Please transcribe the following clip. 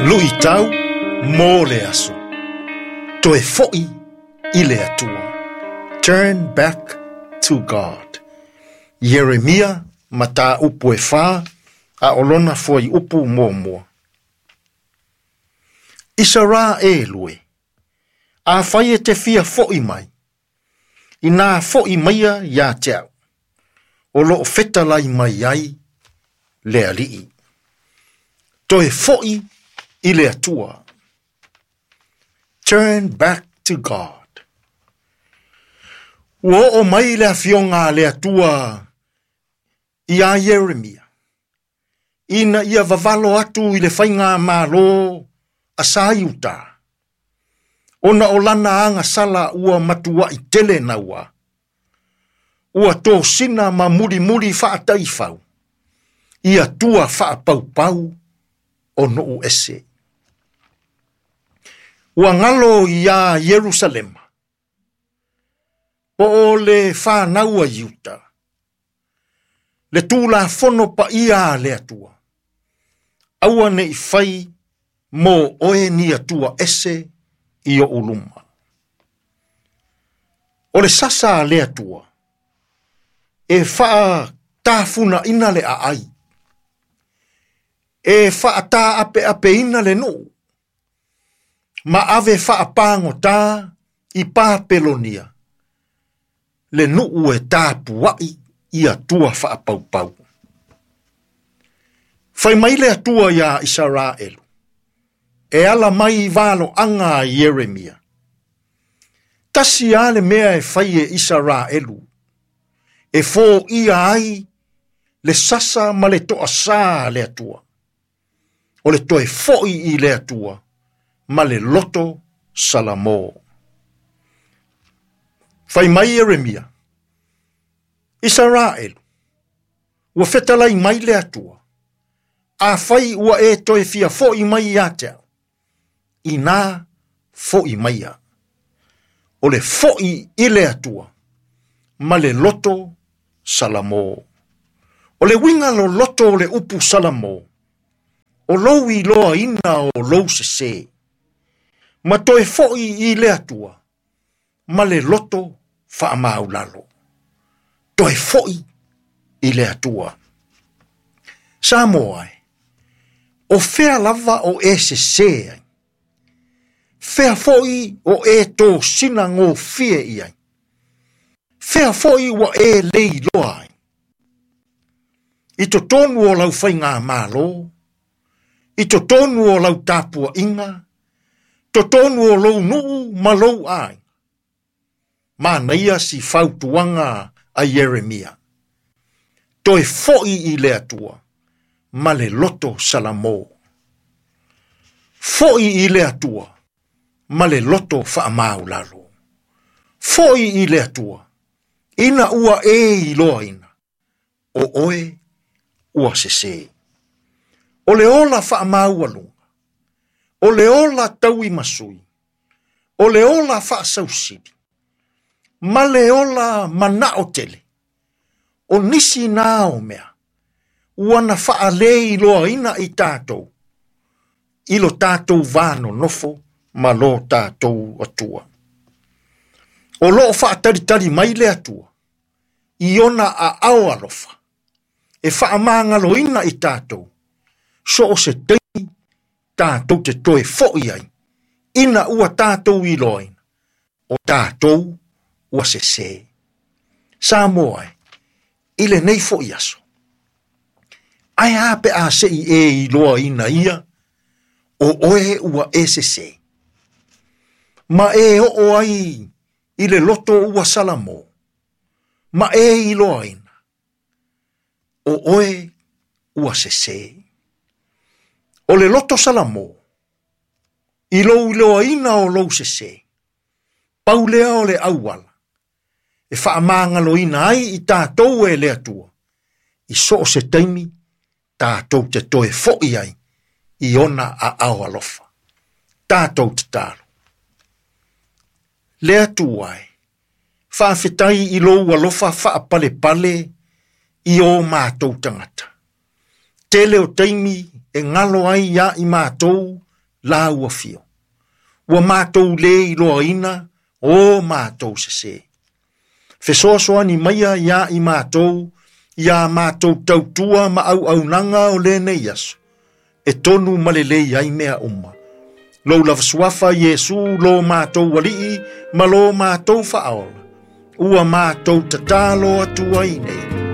Luitau mo le aso. Toe foʻi i le Atua. Turn back to God. Ieremia, mataupu e 4, a o lona fuaiupu muamua. Isaraelu e, afai e te fia foʻi mai, inā foʻi maia iā te au, o loo fetalai mai ai le Alii. Toe foʻi i le Atua. Turn back to God. Ua oo mai le afioga a le Atua iā Ieremia, ina ia vavalo atu i le faigamalo a sa Iuta, ona o lana agasala ua matuaʻi tele naua, ua tosina ma mulimuli faataifau, i atua faapaupau o nuu ese. Ua galo iā Ierusalema, po o le fanau a Iuta, le Tulafono paia a le Atua, aua ne i fai mo oe ni atua ese i oʻu luma. O le sasa a le Atua, e faatafunaʻina le aai, e faataapeapeina le nuu, ma ave faapagotā i Papelonia, le nuu e tapuaʻi i atua faapaupau. Fai mai le Atua iā Isaraelu, e ala mai i valoaga a Ieremia. Tasi lava le mea e fai e Isaraelu, e foia ai le sasa ma le toasā a le Atua, o le toe foʻi i le Atua ma le loto salamo. Fai mai Ieremia, Isaraelu, ua fetalai mai le Atua, afai ua e toe fia foʻi mai ia te au, inā foʻi maia. O le foʻi i le Atua ma le loto salamo. O le uiga loloto o le upu salamo, o lou iloaina o lou sesē, ma toe foʻi i le Atua ma le loto faamaulalo. Toe foʻi i le Atua. Samoa e, o fea lava o e sesē ai? Fea foʻi o e tosina gofie i ai? Fea foʻi ua e le iloa ai? I totonu o lau faigamalo, i totonu o lau tapuaiga, totonu o lou nuu ma lou aiga. Manaia si fautuaga a Ieremia. Toe foʻi i le Atua ma le loto salamo. Foʻi i le Atua ma le loto faamaulalo. Foʻi i le Atua, ina ua e iloaina, o oe ua sesē. O le ola faamaualuga, o le ola tauimasui, o le ola faasausili, ma le ola manao tele, o nisi nā o mea, ua na faaleiloaina i tatou, i lo tatou va nonofo ma lo tatou Atua. O loo faatalitali mai le Atua, i ona aao alofa, e faamagaloina i tatou, so o se taimi tatou te toe foʻi ai, ina ua tatou iloaina, o tatou ua sesē. Samoa e, i lenei foʻi aso, ae a pe a se i e iloaina ia, o oe ua e sesē, ma e oo ai i le loto ua salamo, ma e iloaina, o oe ua sesē. O le loto salamo, i lou iloaina o lou sesē, pau lea o le auala, e faamagaloina ai i tatou e le Atua, i so o se taimi tatou te toe foʻi ai i ona aao alofa. Tatou tatalo. Le Atua e, faafetai i lou alofa faapalepale i o matou tagata. Tele o taimi e galo ai ia i matou lau afio. Ua matou lē iloaina o matou sesē. Fesoasoani maia iā i matou, iā matou tautua ma auaunaga o lenei aso, e tonu ma lelei ai mea uma. Lou lava suafa Iesu lo matou alii ma lo matou faaola, ua matou tatalo atu ai nei.